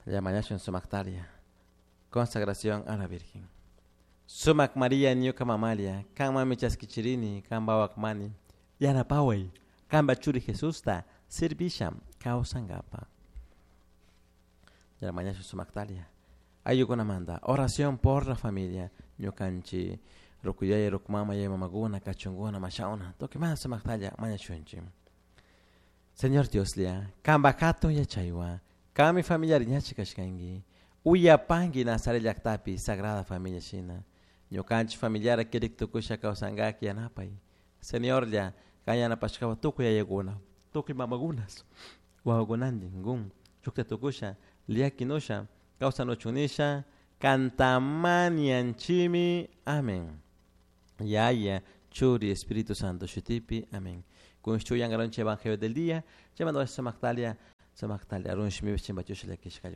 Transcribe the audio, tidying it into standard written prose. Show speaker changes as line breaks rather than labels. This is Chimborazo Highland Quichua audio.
Mañashun sumaqtaria. Consagración a la Virgen. Sumak María ñuka mamalia, kanmanmi chaskichirini, kanpa wawakmani, yanapaway, kanpa churi Jesusta servisha kawsankapa. Mañashun sumaqtaria. Ayllukunamanta, oración por la familia, ñukanchik ruku yaya, ruku mama, yaya mamakuna, kachunkuna, mashawna, tukuymanta sumaqtalla mañashunchik. Señor Dioslla, kanpa hatun yachaywan, kanmi familiari ñachi kashkanki, uyapanki Nazaret llaktapi Sagrada Familia shina, ñukanchik familiara kirik tukusha kawsankaki yanapay. Señorlla, kan yanapashkawan tukuy yayakuna, tukuy mamakunas, wawakunantin kun shukta tukusha, llakinusha, kawsanuchun nisha, kantamanianchimi. Amén. Yaya, Churi, Espíritu Santo, shutipi. Amén. Kun yangaronche Evangelio del día, llamando a Samactalia, Samactalia, arun shimi chimbachusha llakishka.